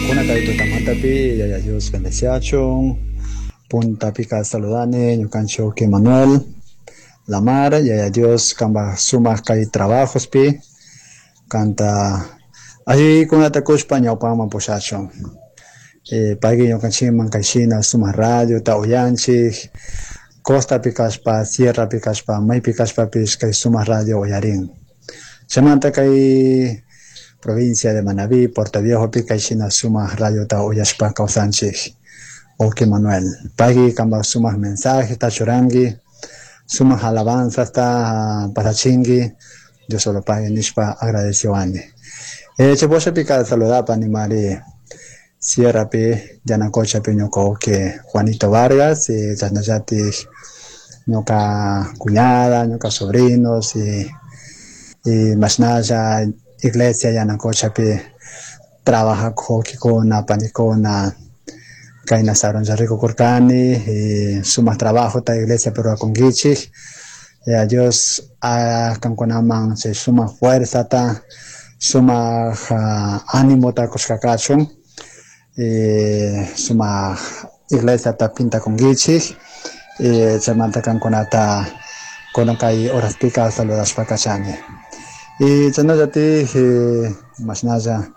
Kuna kay tutamantapi Yaya Dios bendeciachun. Puntapika saludani ñukanchik Manuel Lamar, Yaya Dios kamba sumak kay trabajospi kanta allikunata kushpa ñawpaman pushachun. Payki ñukanchikman kayshina sumak radiota uyanchik, costapi kashpa, sierrapi kashpa, maypi kashpapish kay sumak radio uyarin. Chaymanta kay provincia de Manabí, Portoviejopi kayshina sumak radiota uyashpa kawsanchik. Wawki Manuel, payki kanpak sumak mensajeta churanki, sumak alabanzasta pasachinki, Dios solo pagui nishpa agradeciwani. Chay pika saludapa nimari Sierrapi, Yanacochapi ñuka wawki Juanito Vargas, chashnallatik ñuka cuñada, ñuka sobrinos y mashnalla iglesia Yanacochapi trabajak wawkikuna, panikuna, kayna sarunlla rikukurkani y sumak trabajota iglesia rurakunkichik. Dios kankunaman chay sumak fuerzata, sumak animota kushka kachun, sumak iglesiata pintakunkichik, chaymanta kankunata kunan kay horaspika saludashpa kachani. Y chashnallatik mashnalla